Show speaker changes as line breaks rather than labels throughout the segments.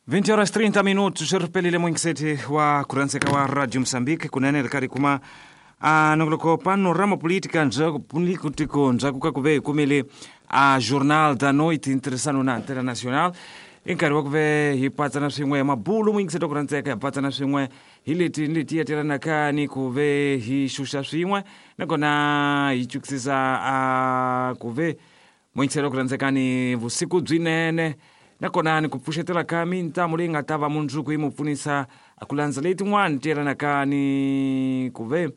20 horas 30 minutos ri pelile muingiseti wa kurhandzeka wa Radio Mozambique kunene ri karhi kuma a nongoloko panorama política ndzhaku tiko ndzhaku ka ku ve hi kumile a Jornal da Noite ntirhisano na Antena Nacional. I nkarhi wa ku ve hi patsana swin'we mabulu muyingiseti wa ku rhandzeka, hi patsana swin'we hi leti ni leti yetelanaka ni ku ve hi xuxa swin'we, nakona hi twisisa a ku ve muyingiseri wa ku rhandzeka ni vusiku byinene, nakona ni ku pfuxetela ka mintamu leyi nga ta va mundzuku yi mu pfunisa ku landza leyi tin'wani ti yelanaka ni ku ve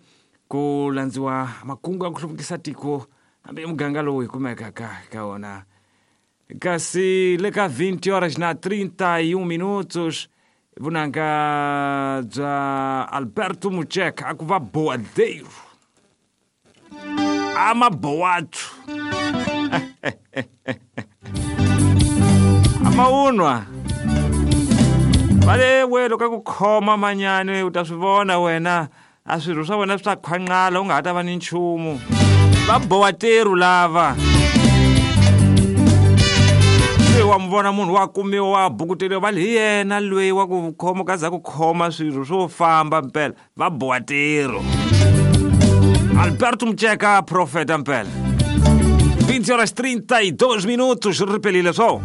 ku landziwa makungu ya ku hluvukisa tiko hambi muganga lowu hi kumekaka ka wona. Kasi le ka 20 horas na 31 minutos, vunanga bya Alberto Mucheka a ku va boadeiro amaboatu amaunwa va le we loko a ku khoma manyani u ta swi vona wena a swirho swa wena swi ta khwanqala u nga ha ta va ni nchumu. Va bowateru lava se wa mi vona munhu wa kumiwa wa bukuteriwa va li hi yena loyi wa ku khoma ka za ku khoma swirho swo famba mpela va bowateru. Alberto Mucheka profeta mpela. 20 horas 32 minutos ripelile swo.